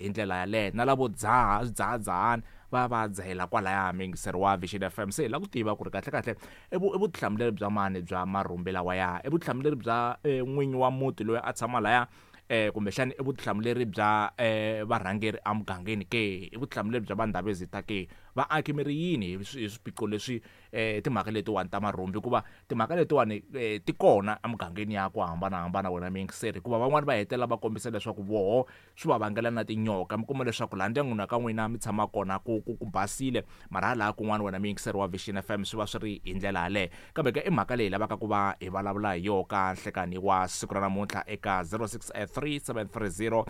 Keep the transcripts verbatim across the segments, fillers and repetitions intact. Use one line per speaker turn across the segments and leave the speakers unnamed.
Hi ndlela yaleyo na lavo dzaha swidzahadzahani va va dzahela kwalaya. Muyingiseri wa Vision F M, se hi lava ku tiva ku ri kahlekahle i vu i vutihlamuleri bya mani bya marhumbi lawaya? I vutihlamuleri bya n'winyi wa muti loyi a tshama laya, eh kumbexani i vutihlamuleri bya eh varhangeri emugangeni ke? I vutihlamuleri bya vandhavezita ke? Vaaki mi ri yini hi swiphiqo leswi, eh timhaka letiwani ta marhumbi? Hikuva timhaka letiwani ti kona emugangeni ya ku hambanahambana, wena muyingiseri, hikuva van'wani va hetelela va kombisa leswaku voho swi va vangela na tinyoka. Mi kuma leswaku laha ndyangwini wa ka n'wina mi tshama kona ku ku ku basile, mara hala kun'wana, wena muyingiseri wa Vision F M, swi va swi ri hi ndlela yaleyo. Kambe ke i mhaka leyi lavaka ku va hi vulavula hi yona ka nhlekani wa siku ra namuntlha eka zero six three seven three zero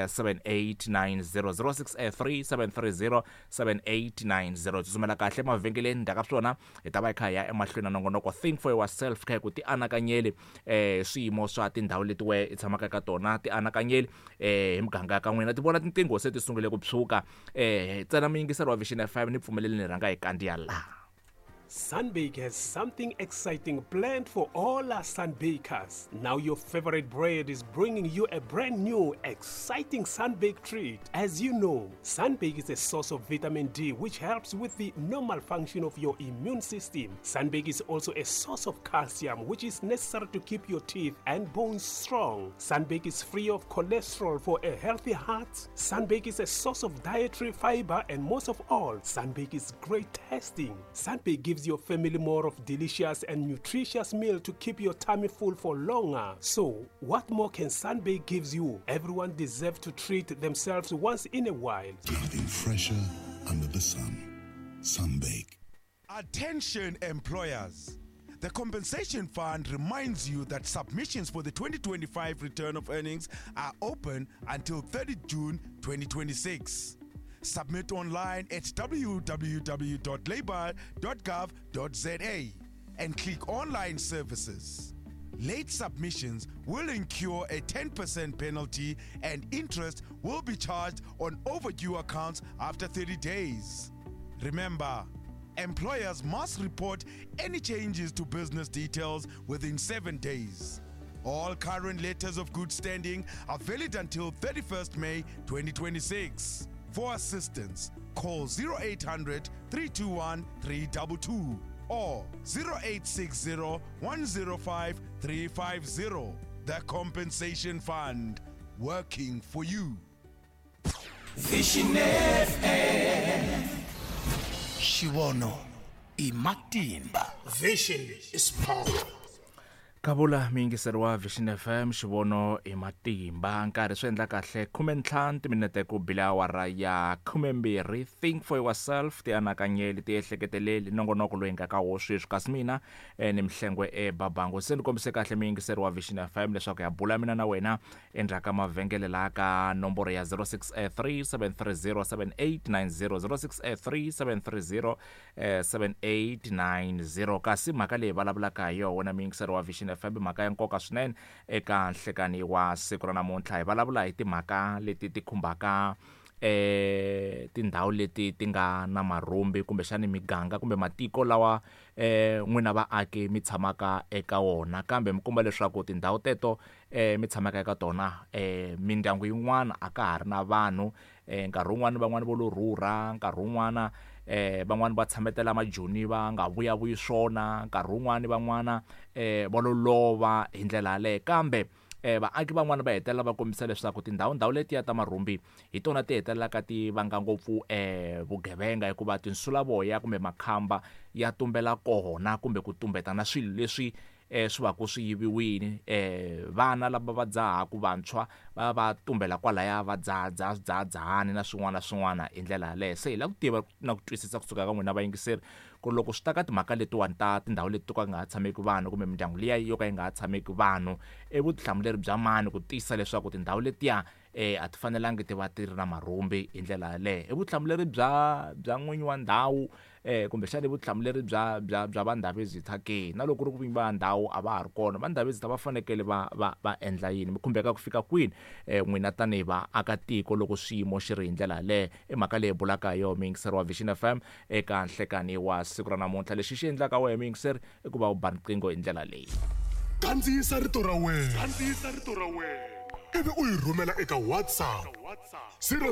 seven eight nine zero, zero six three seven three zero seven eight nine zero. Tsutsumela kahle emavhengeleni, ndzhaku ka swona hi ta va hi kha hi ya emahlweni na nongonoko Think for Yourself, kha hi ku ti anakanyeli eh swiyimo swa tindhawu leti we i tshamaka eka tona, ti anakanyeli eh hi muganga ya ka n'wina. Ti vona tinqingho se ti sungule ku tshuka. eh ntsena muyingiseri wa Vision F M, ni pfumeleli ni rhanga hi kandziya laha.
Sunbake has something exciting planned for all our Sunbakers. Now your favorite bread is bringing you a brand new, exciting Sunbake treat. As you know, Sunbake is a source of vitamin D, which helps with the normal function of your immune system. Sunbake is also a source of calcium, which is necessary to keep your teeth and bones strong. Sunbake is free of cholesterol for a healthy heart. Sunbake is a source of dietary fiber, and most of all, Sunbake is great tasting. Sunbake gives your family more of delicious and nutritious meal to keep your tummy full for longer. So, what more can Sunbake gives you? Everyone deserves to treat themselves once in a while.
Nothing fresher under the sun. Sunbake.
Attention employers. The Compensation Fund reminds you that submissions for the twenty twenty-five return of earnings are open until thirtieth June twenty twenty-six. Submit online at w w w dot labour dot gov dot z a and click Online Services. Late submissions will incur a ten percent penalty and interest will be charged on overdue accounts after thirty days. Remember, employers must report any changes to business details within seven days. All current letters of good standing are valid until thirty-first May twenty twenty-six. For assistance, call zero eight hundred, three two one, three two two or zero eight six zero, one zero five, three five zero. The Compensation Fund, working for you.
Vision F M. Xivono i matimba.
Vision is power.
Kavula muyingiseri wa Vision F M, xivono i matimba. Nkarhi swi endla kahle khume ntlhanu timinete ku bila awara ya khume mbirhi. Think for yourself, ti anakanyeli, ti ehleketeleli nongonoko loyi nga ka wo sweswi. Kasi mina eh, ni Mhlengwe eBabango. Se ni kombise kahle muyingiseri wa Vision F M leswaku ya bula mina na wena endzhaku ka mavhengele laha ka nomboro ya zero six three seven three zero seven eight nine zero, zero six three seven three zero seven eight nine zero. Kasi mhaka leyi vulavulaka hi yona wena muyingiseri wa Vision F M, mhaka ya nkoka swinene eka nhlekani wa siku ra namuntlha. Hi vulavula hi timhaka leti ti khumbaka eh tindhawu leti ti nga na marhumbi, kumbexani miganga kumbe matiko lawa eh n'wina vaaki mi tshamaka eka wona. Kambe mi komba leswaku tindhawu teto eh mi tshamaka eka tona eh mindyangu yin'wana a ka ha ri na vanhu, eh nkarhi wun'wani van'wani vo lo rhurha, nkarhi wun'wana eh van'wani va tshametela majoni va nga vuyavuyi swona, nkarhi wun'wani van'wana eh va lo lova hi ndlela yaleyo. Kambe eh vaaki van'wana va hetelela va kombisa leswaku tindhawu ndhawu letiya ta marhumbi hi tona ti hetelelaka ti vanga ngopfu eh vugevenga, hikuva tinsulavoya kumbe makhamba ya tumbela kona kumbe ku tumbeta na swilo leswi eh swi va ku swi yiviwile. eh vana lava va dzahaku vantshwa va va tumbela kwalaya va dzaha dzaha swidzahadzahani na swin'wana na swin'wana hi ndlela yaleyo. Se hi lava ku tiva na ku twisisa kusuka ka n'wina vayingiseri ku loko swi ta ka timhaka letiwani ta tindhawu leti to ka nga ha tshameki vanhu kumbe mindyangu liya yo ka yi nga ha tshameki vanhu, i vutihlamuleri bya mani ku tiyisisa leswaku tindhawu letiya eh a ti fanelangi ti va ti ri na marhumbi hi ndlela yaleyo? I vutihlamuleri bya bya n'winyi wa ndhawu eh kumbexana i vutihlamuleri bya bya bya vandhavezitha ke? Na loko ku ri ku vinyi va ndhawu a va ha ri kona, vandhavezitha va fanekele va va va endla yini? Mi khumbeka ku fika kwini eh n'wina tanihi vaakatiko loko xiyimo xi ri hi ndlela yaleyo? I mhaka leyi bulaka hi yona muyingiseri wa Vision F M eka nhlekani wa siku ra namuntlha. Lexi xi endlaka wehe muyingiseri i ku va u ba riqingho hi ndlela leyi.
Kandziyisa rito ra wena. Kandziyisa rito ra wena. Ivi u yi rhumela eka WhatsApp zero